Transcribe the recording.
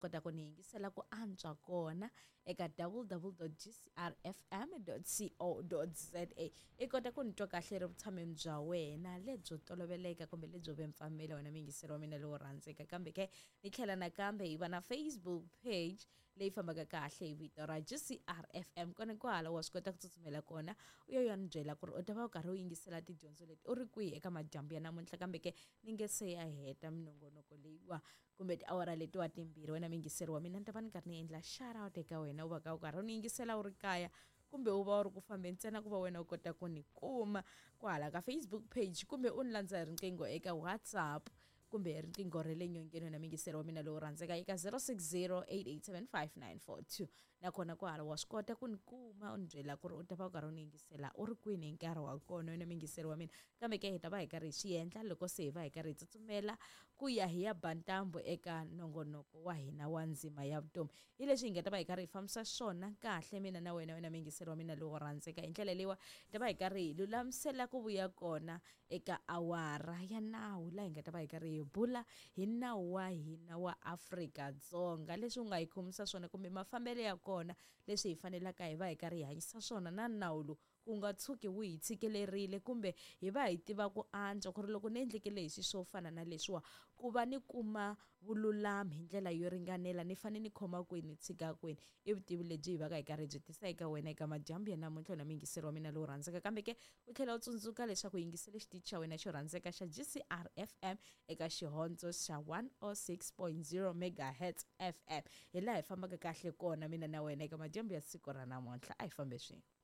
Kota ku ni yingisela ku antswa kona eka www.gcrfm.co.za. I kota ku ni twa kahle ri vutshameni bya wena lebyo toloveleka kumbe lebyo vempfamela wena muyingiseri wa mina lowo rhandzeka. Kambe ke ni tlhela nakambe hi va na Facebook page leyi fambaka kahle hi vito ra GCRFM. Kona kwala wa swi kota ku tsutsumela kona u ya u ya ni byela ku ri u ta va u karhi u yingisela tidyondzo leti u ri kwihi eka madyambu ya namuntlha. Kambe ke ni nge se ya heta minongonoko leyiwa kumbe tiawara letiwa timbirhi, wena muyingiseri wa mina ni ta va ni karhi ni endla shout out eka wena u va ka u karhi u ni yingisela u ri kaya kumbe u va u ri ku fambeni ntsena ku va wena u kota ku ni kuma kwahala ka Facebook page kumbe u ni landza hi riqingho eka WhatsApp kumbe hi riqingho ra le nyongeni wena muyingiseri wa mina lowu rhandzeka eka 0608875942. Nakona kwahala wa swi kota ku ni kuma u ni byela ku ri u ta va u karhi u ni yingisela u ri kwini hi nkarhi wa kona wena muyingiseri wa mina. Kambe ke hi ta va hi karhi hi swi endla loko se hi va hi karhi hi tsutsumela ku ya hi ya ba ntambu eka nongonoko wa hina wa ndzima ya vutomi. Hi leswi hi nga ta va hi karhi hi fambisa swona kahle mina na wena wena muyingiseri wa mina lowo rhandzeka. Hi ndlela leyiwa hi ta va hi karhi hi lulamisela ku vuya kona eka awara ya nawu laha hi nga ta va hi karhi hi bula hi nawu wa hina wa Afrika-Dzonga, leswi u nga hi khomisa swona kumbe mafambelo ya kona, leswi hi fanelaka hi va hi karhi hi hanyisa swona na nawu lowu ku nga tshuki wu hi tshikelerile kumbe hi va hi tiva ku antswa ku ri loko ni endlekele hi swo fana na leswiwa ku va ni kuma vululami hi ndlela yo ringanela ni fanele ni khoma kwini ni tshika kwini. I vutivi lebyi hi va ka hi karhi byi tisa eka wena eka madyambu ya namuntlha na muyingiseri wa mina lowu rhandzeka. Kambe ke u tlhela u tsundzuka leswaku yingisele xitichi xa wena xo rhandzeka xa GCR FM eka xihondzo xa 106.0 megahertz FM, hi laha hi fambaka kahle kona mina na wena eka madyambu ya siku ra namuntlha. A hi fambe swin'we.